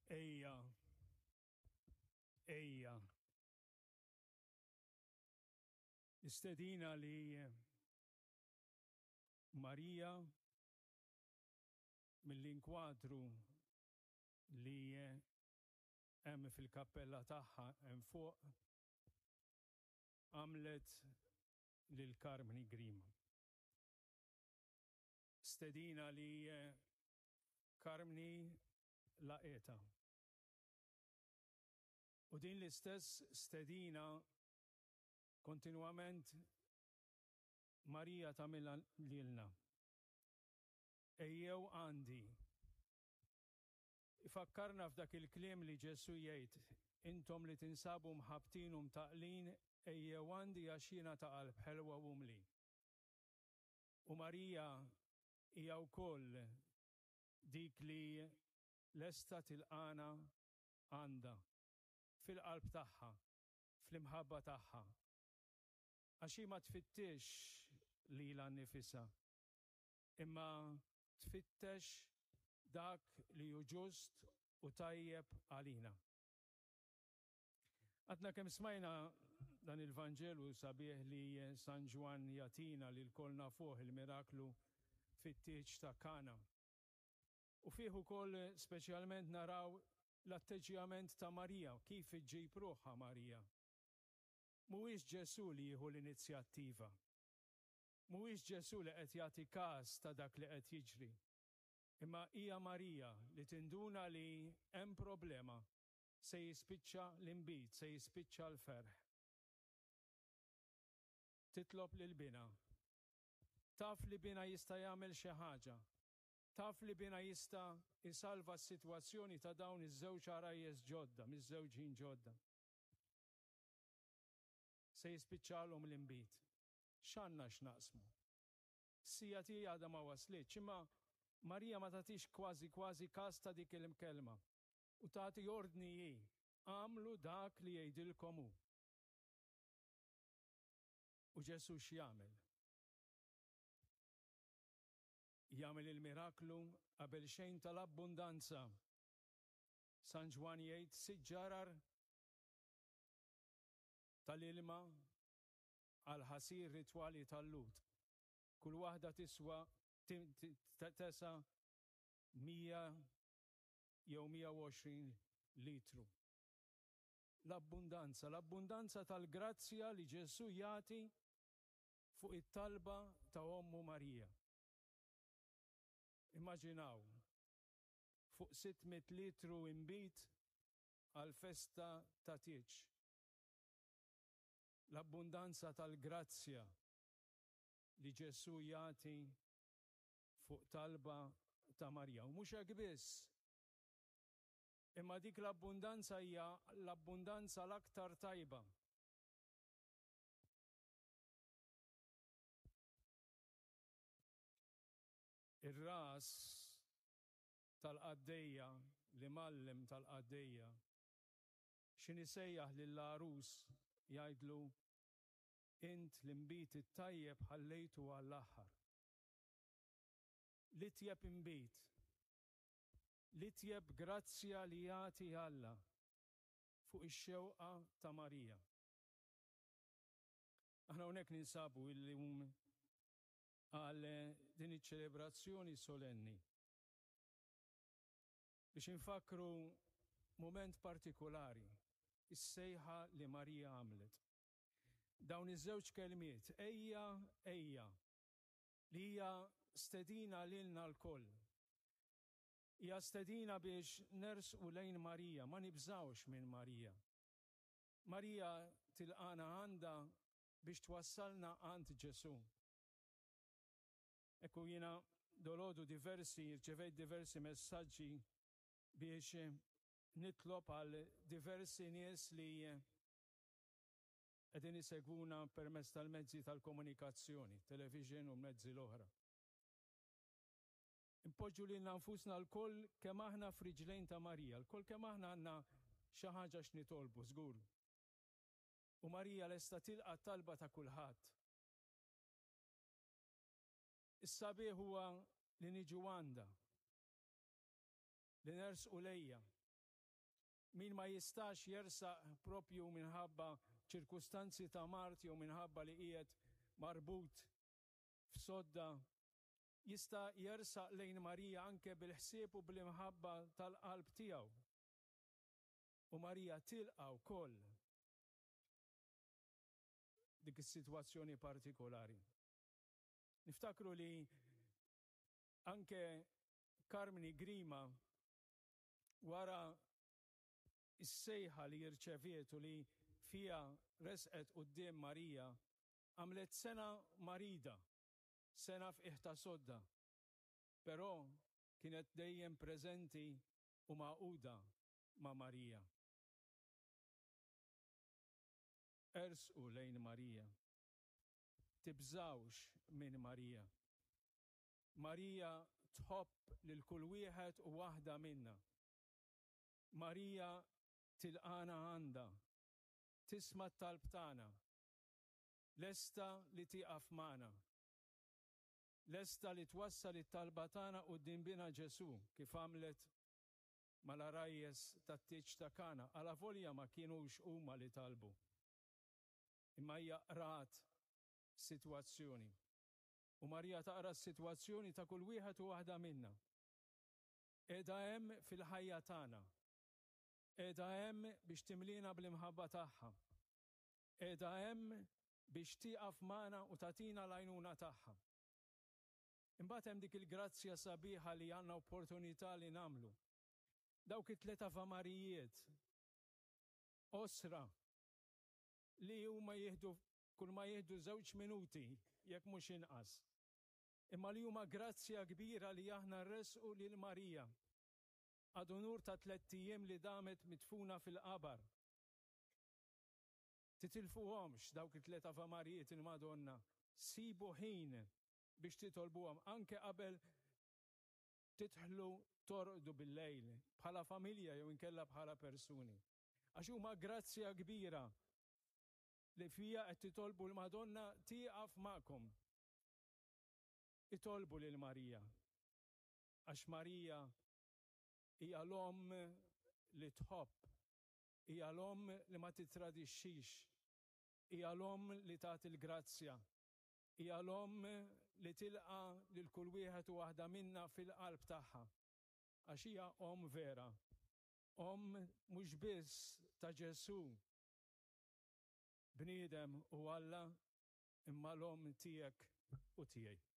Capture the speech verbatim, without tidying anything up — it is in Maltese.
Ejja, ejja. Istedina li Marija mill-inkwadru li hemm fil-kappella tagħha hemm fuq għamlet lil Karmni Grima. Stedina li Karmni laqgħetha. U din l-istess stedina kontinwament Marija tagħmilha lilna. Ejjew għandi. Ifakkarna f'dak il-kliem li Ġesù jgħid, intom li tinsabu mħabbtin u mtaqlin, ejjew għandi għax jiena ta' qalb ħelwa u umli. U Marija hija wkoll dik li lesta tilqana għandha fil-qalb tagħha, fl-imħabba tagħha. Għax hi ma tfittex lilha nnifisha, imma tfittex dak li hu ġust u tajjeb għalina. Għadna kemm smajna dan il-Vanġelu sabiħ li San Ġwann jagħtina li lkoll nafuh, il-miraklu fit-tieġ ta' Kana. U fih ukoll speċjalment naraw l-atteġġjament ta' Marija, kif iġġib ruħha Marija. Mhuwiex Ġesù li jieħu l-inizjattiva. Mhuwiex Ġesù li qed jagħti każ ta' dak li qed jiġri. Imma hija Marija li tinduna li hemm problema, se jispiċċa l-inbid, se jispiċċa l-ferħ. Titlob lil binha. Taf li binha jista' jagħmel xi ħaġa. Taf li binha jista' jsalva s-sitwazzjoni ta' dawn iż-żewġ għarajjes ġodda, miż-żewġin ġodda. Se jispiċċalhom l-inbid. X'għandna x'naqsmu? Sija tiegħi għadha ma waslitx, imma Marija ma tagħtix kważi kważi każ ta' dik il-kelma. U tagħti ordni hi, għamlu dak li jgħidilkom hu. U Ġesù x'jagħmel? Jagħmel il-miraklu qabel xejn tal-abbundanza. San Ġwann jgħid sitt ġarar tal-ilma għal ħasir ritwali tal-Lhud. Kull waħda tiswa tesa mija jew mija u għoxrin litru. L-abbundanza, l-abbundanza tal-grazzja li Ġesù jagħti fuq it-talba ta' ommu Marija. Immaġinaw, fuq sitt mitt litru inbid għal festa ta' tieġ. L-abbundanza tal-grazzja li Ġesù jagħti fuq talba ta' Marija. U mhux hekk biss, imma dik l-abbundanza hija l-abbundanza l-aktar tajba. Ir-ras tal-qaddejja, l-imgħallem tal-qaddejja, x'inhi sejjaħ lill-għarus jgħidlu, int l-inbid it-tajjeb ħallejtu għall-aħħar. L-itjeb inbid, l-itjeb grazzja li jagħti Alla fuq ix-xewqa ta' Marija. Aħna hawnhekk ninsabu illum għal din iċ-ċelebrazzjoni solenni biex infakru moment partikolari, is-sejħa li Marija għamlet. Dawn iż-żewġ kelmiet, ejja, ejja, li hija stedina lilna lkoll. Hija stedina biex nersqu lejn Marija, ma nibżgħux minn Marija. Marija tilqana għandha biex twassalna għand Ġesù. Ekku jiena dolodu diversi, rċevejt diversi messaġġi biex nitlob għal diversi nies li qegħdin isegwuna permezz tal-mezzi tal-komunikazzjoni, television u mezzi l-oħra. Impoġġu lilna nfusna lkoll kemm aħna f'riġlejn ta' Marija, lkoll kemm aħna għandna xi ħaġa x'nitolbu, żgur. U Marija lesta tilqa' t-talba ta' kulħadd. Is-sabiħ huwa li niġu għandha, li nersqu lejja. Min ma jistax jersaq propju minħabba ċirkustanzi ta' mard jew minħabba li qiegħed marbut f'sodda, jista' jersaq lejn Marija anke bil-ħsieb u bl-imħabba tal-qalb tiegħu. U Marija tilqa' wkoll dik is-sitwazzjoni partikolari. Niftakru li anke Karmni Grima, wara is-sejħa li rċeviet u li fija resqet quddiem Marija, għamlet sena marida, sena f'qiegħ ta' sodda, però kienet dejjem preżenti u magħquda ma' Marija. Ersqu lejn Marija. Tibżgħux minn Marija. Marija tħobb lil kull wieħed u waħda minna. Marija tilqana għandha, tisma' t-talb tagħna, lesta li tieqaf magħna, lesta li twassal it-talba tagħna quddiem Binha Ġesù, kif għamlet mal-għarajjes tat-tieġ ta' Kana, alavolja ma kinux huma li talbu. Imma hija qrat sitwazzjoni. U Marija taqra s-sitwazzjoni ta' kull wieħed u waħda minna. Qiegħda hemm fil-ħajja tagħna. Qiegħda hemm biex timlina bl-imħabba tagħha. Qiegħda hemm biex tieqaf magħna u tagħtina l-għajnuna tagħha. Imbagħad hemm dik il-grazzja sabiħa li għandna opportunità li nagħmlu. Dawk it-tliet avamarijiet qosra li huma jieħdu kull ma jieħdu żewġ minuti jekk mhux inqas. Imma li huma grazzja kbira li aħna rresqu lil Marija ad unur ta' tlett ijiem li damet midfuna fil-qabar. Titilfuhomx dawk it-tliet avamarijiet il-Madonna. Sibu ħin biex titolbuhom anke qabel tidħlu torqdu bil-lejl bħala familja jew inkella bħala persuni. Għax huma grazzja kbira li fija qed titolbu l-Madonna tieqaf magħkom. Itolbu lil Marija. Għax Marija hija l-omm li tħobb, hija l-omm li ma titradixxix, hija l-omm li tagħti l-grazzja, hija l-omm li tilqa' lil kull wieħed u waħda minna fil-qalb tagħha. Għax hija omm vera, omm mhux biss ta' Ġesù, bniedem u Alla, imma l-omm tiegħek u tiegħi.